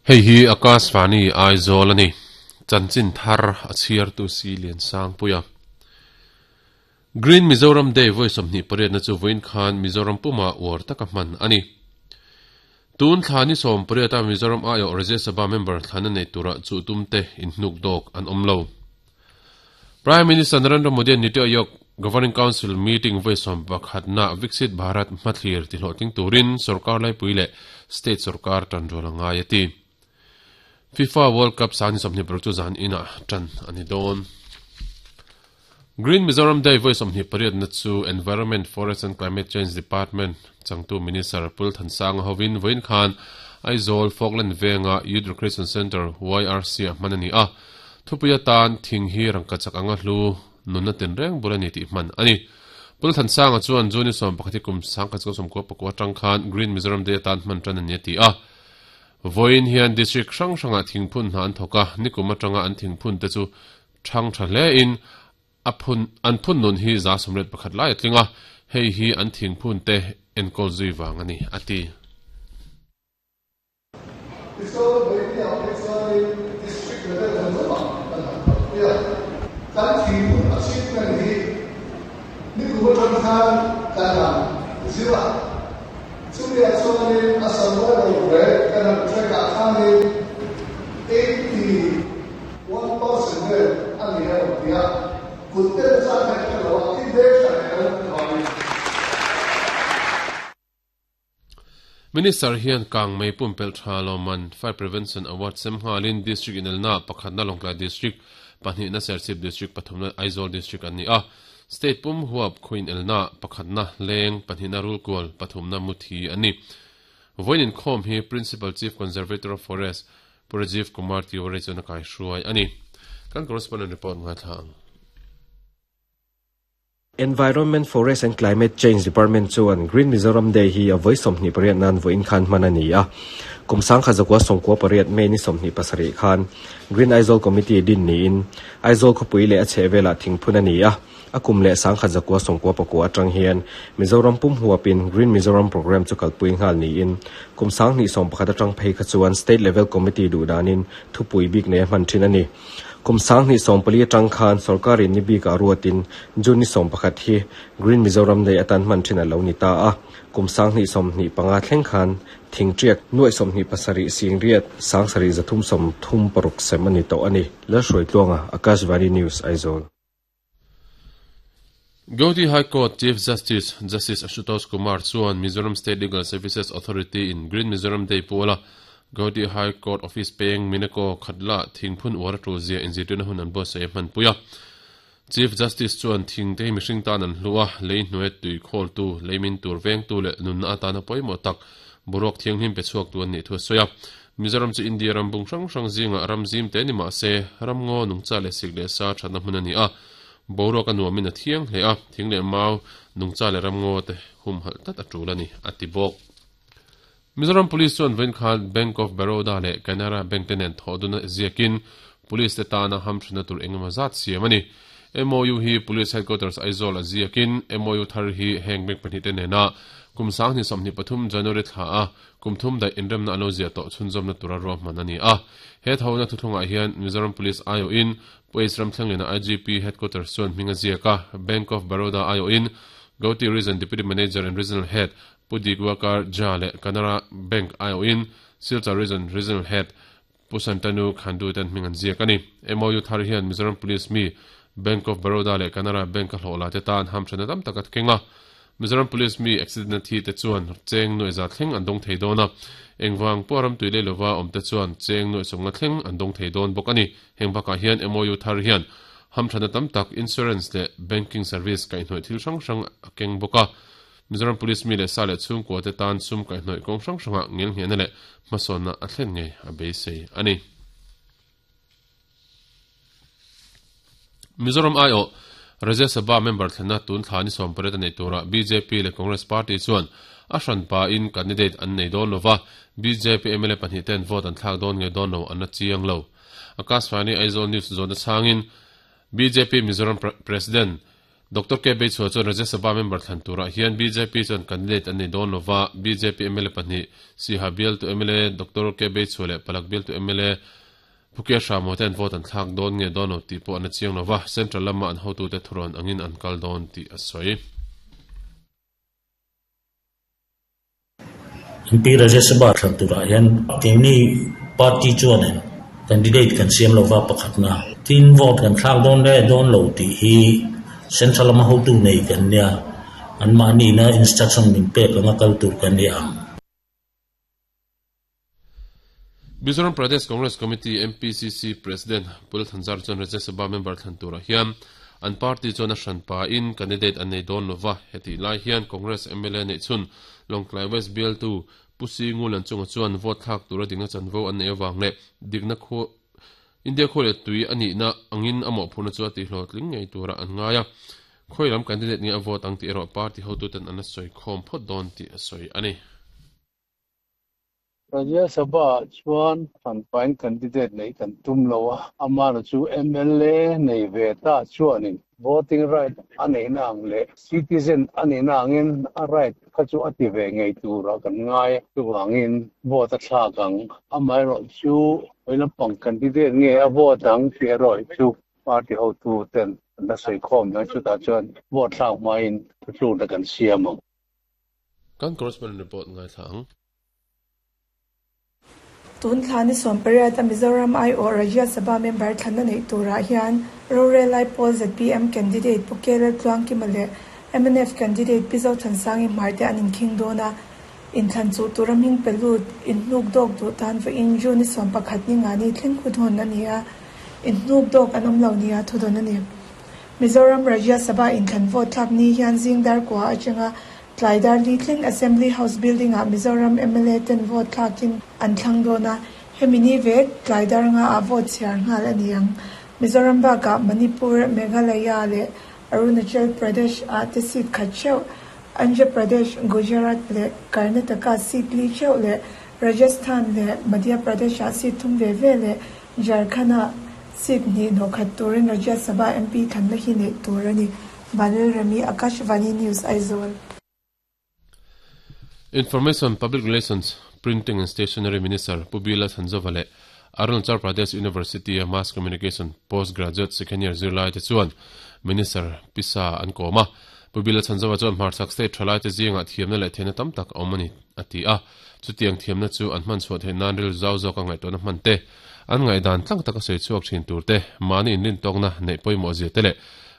Hei hi Akashvani Aizawl a ni. Chanchin thar a chhiartu si Liansangpuia. Green Mizoram Day vawi 28 na chu vawiin khan Mizoram puma uar taka hman a ni. Tun thla ni 18 a Mizoram aiawh Rajya Sabha member thlan a nei tura chuh tum te inhnuk dawk an awm lo. Prime Minister Narendra Modi an Niti Aayog Governing Council meeting vawi 11 na Viksit Bharat hmathlir tihlawhtling turin sorkar laipui leh state sorkar tanrual a ngai a ti. FIFA World Cup sang ni 26 chu zan inah tan a ni dawn. Green Mizoram Day vawi 28 na chu Environment, Forest and Climate Change Department changtu Minister Pul Thansanga hovin vawiin khan Aizawl Falkland Venga Youth Recreation Centre YRC a hman a ni a. Thupui atan thing hi rangkachak anga hlu nunna tinreng bul a ni tih hman a ni. Pul Thansanga chuan June 11 hi kum 1994 atang khan Green Mizoram Day atan hman tan a ni a ti a. Vawiin hian district hrang hrangah thingphun hna an thawk a, nikum atanga an thingphun te chu thang tha hle in a phun an phun nun hi 101 lai a tling a, hei hi an thingphun te enkawl zui vang a ni a ti. Tichuan vawiin ah phei chuanin District level zawng zawng ah kan han kalpui a, kan thingphun achievement hi nikum atang khan kan han zir a, chumi ah chuanin a survival rate kan han track ah khanin 81% vel a ni a rawn ti a, kut tel zat hi a hre lo a, i veng tha leh lo avangin. Minister hian kang mei pumpelh tha lawmman Fire Prevention Award sem nghalin District inelna pakhatna Lawngtlai District, pahnihna Serchhip District, pathumna Aizawl District an ni a. State pum huap khaw inelna pakhatna Leng, pahnihna Rulkual, pathumna Muthi an ni. Vawiin inkhawm hi Principal Chief Conservator of Forest Pu Rajiv Kumar Tiwari chuan a kaihruai a ni. Kan correspondent report ngaithla ang. Environment, Forest and Climate Change Department chuan Green Mizoram Day hi a vawi 28 nan vawiin khan hman a ni a. Kum 1998 May ni 27 khan Green Aizawl Committee din niin Aizawl khawpui leh a chhehvelah thingphun a ni a. A kum leh 1999 atang hian Mizoram pum huapin Green Mizoram Programme chu kalpui nghal niin kum 2011 atang phei kha chuan State Level Committee duh danin thupui bik nei a hman thin a ni. Kum 2014 atang khan sorkarin ni bikah ruatin June ni 11 hi Green Mizoram Day atan hman thin a lo ni ta a. Kum 2025 thleng khan thingtriak nuaih 27 singriat 7336 sem a ni tawh a ni. Lalhruaitluanga, Akashvani News, Aizawl. Guwahati High Court Chief Justice, Justice Ashutosh Kumar chuan Mizoram State Legal Services Authority in Green Mizoram Day puala Guwahati High Court Office peng Mineko Khatla thingphun uar a tul zia inzirtirna hun an buatsaih a hmanpui a. Chief Justice chuan thing te hi mihring tan an hlu a, lei hnuai tui khawltu, lei min tur vengtu leh nunna atana pawimawh tak boruak thianghlim pe chhuaktu an nih thu a sawi a. Mizoram chu India ram bung hrang hrang zingah ram zim te ni mah se, ram ngaw nungcha leh sik leh sa thatna hmun a ni a. Boruak a nuamin a thiang hle a, thing leh mau, nungcha leh ram ngaw te humhalh tlat a tul a ni, a ti bawk. Mizoram Police chuan vawiin khan Bank of Baroda leh Canara Bank te nen thawh dun a ziakin Police te tana hamthenna tur engemaw zat siam a ni. MOU hi Police Headquarters Aizawl a ziakin MOU thar hi heng bank pahnih te nena kum 2023 January thla a kum thum daih inremna an lo ziah tawh chhunzawmna tura ruahman a ni a. He thawhna thuthlungah hian Mizoram Police aiawhin Police Ramthlenglena IGP Headquarters chuan hming a ziak a, Bank of Baroda aiawhin Gauti Region Deputy Manager and Regional Head Pu Diwakar Jha leh Canara Bank aiawhin Silchar Region Regional Head Pu Santanu Khandu ten hming an ziak a ni. MOU thar hian Mizoram Police mi Bank of Baroda leh Canara Bank a hlawh la te tan hamthenna tam tak a keng a. Mizoram Police mi accident na thi te chuan cheng nuaih za thleng an dawng thei dawn a. Engvang pawh ram tui lei lova awm te chuan cheng nuaih sawmnga thleng an dawng thei dawn bawk a ni. Heng bakah hian MOU thar hian hamthenna tam tak insurance leh banking service kaihhnawih thil hrang hrang a keng bawk a. Mizoram Police mi leh sa leh chhungkua te tan sum kaihhnawih kawng hrang hrangah ngelnghehna leh hmasawnna a thlen ngei a beisei a ni. Mizoram aiawh Rajya Sabha member thlenna tun thla ni 18 a nei turah bjp leh Congress party chuan a hranpa in candidate an nei dawn lova, bjp mla pahnih ten vote an thlak dawn nge dawn lo an la chiang lo. Akashvani Aizawl News zawhna chhangin bjp Mizoram President. Doctor K Beichhua chuan Rajya Sabha member thlan turah hian bjp chuan candidate an nei dawn lova, bjp mla pahnih, Siha bialtu mla Doctor K Beichhua leh Palak bialtu mla Phukia Hramo ten vote an thlak dawn nge dawn lo tih pawh an la chiang lova, Central lama an hotute thurawn angin an kal dawn tih a sawi. MP Rajya Sabha thlan turah hian keini party chuanin candidate kan siam lova pakhatna tin vote kan thlak dawn leh dawn lo tih hi Central lama hotu nei kan nia, anmahniina instruction min pek anga kal tur kan ni ang. Mizoram Pradesh Congress Committee, MPCC, President Pu Lalthanzar chuan Rajya Sabha member thlan turah hian an party chuan a hran pahin candidate an nei dawn lova, hetih lai hian Congress mla neih chhun Lawngtlai West bialtu Pu Singulan chunga chuan vote thlak tura dikna chanvo an neih avang leh dikna khu India khua leh tui a nihna angin a mawhphurhna chu a tihhlawhtling ngei turah an ngai a, khawi lam candidate nge a vote ang tih erawh party hotuten an la sawi khawm phawt dawn tih a sawi a ni. Rajya Sabha-ah chuan hranpain candidate neih kan tum lo a, amahna chu mla nei ve ta chuanin voting right a neihna ang leh citizen a nihna angin a right kha chu a ti ve ngei turah kan ngai. Chuvangin vote a thlak ang. Amaherawhchu hawi lampang candidate nge a vote ang tih erawh chu party hotu ten an la sawi khawm dawn chutah chuan vote thlak hmain thutlukna kan siam ang. Kan correspondent report ngaithla ang. Tun thla ni 18 a Mizoram aiawh Rajya Sabha member thlanna neih turah hian rorel lai pawl zpm candidate Pu Kelal Tluangkima leh mnf candidate Pi Zothansangi Hmarte an inkhing dawn a, inthlan chuh tura hming pe lut inhnuk dawk duh tan vawiin June ni 11 ni nga ni thleng hun hawn a ni a, inhnuk dawk an awm lo nia thudawn a ni. Mizoram Rajya Sabha inthlan vote thlak ni hian zing dar kua atanga Tlai dar li thleng Assembly House building-ah Mizoram mla ten vote thlakin an thlang dawn a, hemi ni vek tlai dar ngaah vote chhiar nghal a ni ang. Mizoram bakah Manipur, Meghalaya leh Arunachal Pradesh-ah te seat khat theuh, Andhra Pradesh, Gujarat leh Karnataka seat li theuh leh Rajasthan leh Madhya Pradesh-ah seat thum ve ve leh Jharkhand-ah seat hnih hnawhkhat turin Rajya Sabha MP thlanna hi neih tur a ni. Vanil Remi, Akashvani News, Aizawl. Information, Public Relations, Printing and Stationery Minister Pu Bila Thanzova leh Arunachal Pradesh University-a Mass Communication Post Graduate Second Year zirlaite chuan Minister Pisa an kawm a. Pu Bila Thanzova chuan hmarchhak state thalaite zingah thiamna leh theihna tam tak a awm a ni, a ti a. Chutiang thiamna chu an hman chhuah theih nan rilru zau zawka ngaihtuahna hman te, an ngaihdan tlang taka sawi chhuak thin tur te, mahni inrintawkna neih pawimawh zia te leh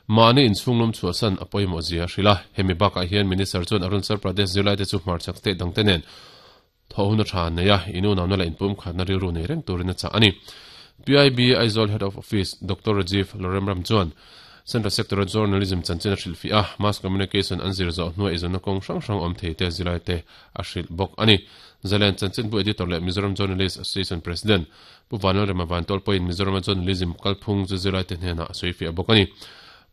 mahni inchhunglum chhuahsan a pawimawh zia a hrilh a. Hemi bakah hian Minister chuan Arunachal Pradesh zirlaite chu hmarchhak state dangte nen thawh hun a tha an nei a, inunamna leh inpumkhatna rilru nei reng turin a chah a ni. PIB Aizawl Head of Office Doctor Rajiv Loremram chuan Central Sector-a Journalism chanchin a hrilhfiah a, Mass Communication an zir zawh hnuah eizawnna kawng hrang hrang awm thei te zirlaite a hrilh bawk a ni. Zalen Chanchinbu Editor leh Mizoram Journalist Association President Pu Vanlalrema Vantawl pawhin Mizorama Journalism kalphung chu zirlaite hnenah a sawifiah bawk a ni.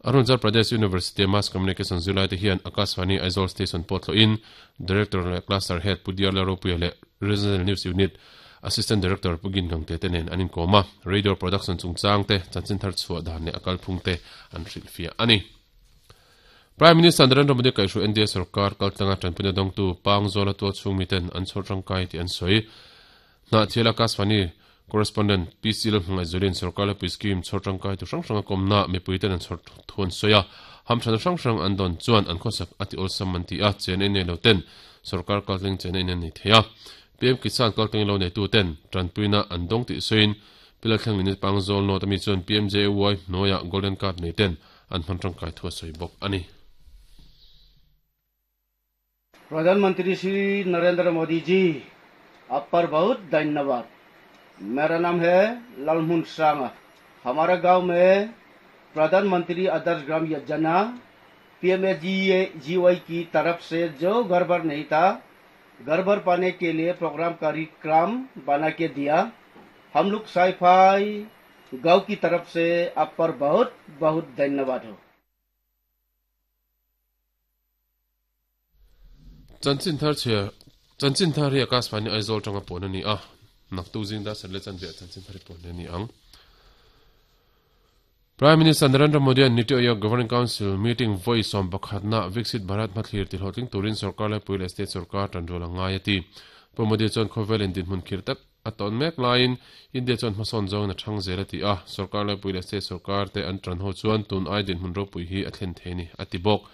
Arunachal Pradesh University-a Mass Communication zirlaite hian Akashvani Aizawl Station pawh thlawhin Director leh Cluster Head Pu Diarla Ropuia leh Regional News Unit Assistant Director Pu Gin Gangte te nen an inkawm a, Radio Production chungchang te, chanchin thar chhuah dan leh a kalphung te an hrilhfiah a ni. Prime Minister Narendra Modi kaihhruai NDA sorkar kaltlanga tanpuina dawngtu Pangzawla tualchhung miten an chhawr tangkai tih an sawi. Hnahthial Akashvani Correspondent PC Lalhmangaihzualin sorkar lepui scheme chhawr tangkai tu hrang hranga kawmna mipuiten an chhawr thu an sawi a, hamthanna hrang hrang an dawn chuan an khawsak a ti awlsam an ti a, chen ei nei lo ten sorkar kaltling chen ei an nei thei a. PM Kisan kaltling lo neitu ten tanpuina an dawng tih sawiin Pi Lalthleng Lini Pangzawl North ami chuan PMJAY hnuaiah Golden Card nei ten an hman tangkai thu a sawi bawk a ni. प्रधानमंत्री श्री नरेंद्र मोदी जी आप पर बहुत धन्यवाद मेरा नाम है लालमुन सांगा हमारे गांव में प्रधानमंत्री आदर्श ग्राम योजना पीएमएजीवाई की तरफ से जो घर भर नहीं था घर भर पाने के लिए प्रोग्राम कार्यक्रम बना के दिया हम लोग साईफाई गांव की तरफ से आप पर बहुत बहुत धन्यवाद हो Chanchin thar chhia Chanchin thar hi Akashvani Aizawl tanga pawn a ni a, naktuk zing dar sarh leh chanve ah chanchin thar hi pawn a ni ang. Prime Minister Narendra Modi-a'n Niti Aayog Governing Council meeting vawi sawmpakhatna Viksit Bharat hmathlir tihlawhtling turin sorkar laipui leh state sorkar tanrual a ngai a ti. Pu Modi chuan khawvelin dinhmun khirh tak a tawn mek laiin India chuan hmasawn zawngin a thang zel a ti a, sorkar laipui leh state sorkar te an tan ho chuan tun ai dinhmun ropui hi a thlen thei ni a ti bawk.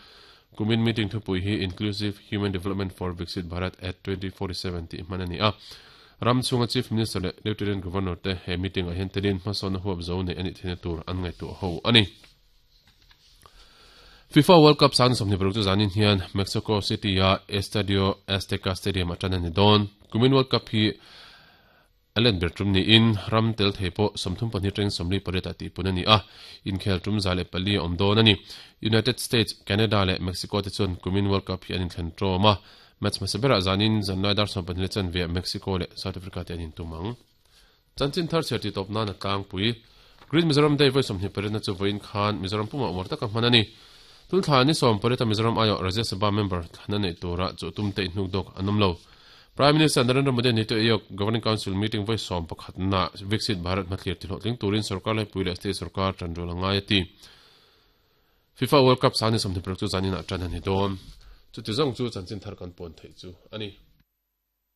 Kumin meeting thupui hi Inclusive Human Development for Viksit Bharat at 2047 tih hman a ni a. Ram chhunga Chief Minister leh Lieutenant Governor te he meeting ah hian telin hmasawnna huap zo neih a nih theihna tur an ngaihtuah ho a ni. FIFA World Cup sang 26 chu zanin hian Mexico City a Estadio Azteca Stadium ah tan a ni dawn. Kumin World Cup hi a let ber tum niin ram tel thei pawh 32 teng 48 ah tihpun a ni a, inkhel tum 104 a awm dawn a ni. United States, Canada leh Mexico te chuan kumin World Cup hi an inthlen tawm a, Match hmasa berah zanin zanlai dar 12 leh chanve ah Mexico leh South Africa te an intum ang. Chanchin thar chhiar tih tawp nan a tlangpui. Green Mizoram Day vawi 28 na chu vawiin khan Mizoram pumah uar taka hman a ni. Tun thla ni 18 a Mizoram aiawh Rajya Sabha member thlan a neih turah chu tum te inhnuk dawk an awm lo. Prime Minister Narendra Modi Niti Aayog Governing Council meeting vawi 11 na Viksit Bharat hmathlir tihlawhtling turin sorkar laipui leh state sorkar tanrual a ngai a ti. FIFA World Cup sang ni 26 chu zaninah tan a ni dawn. Chuti zawng chu chanchin thar kan pawn theih chu a ni.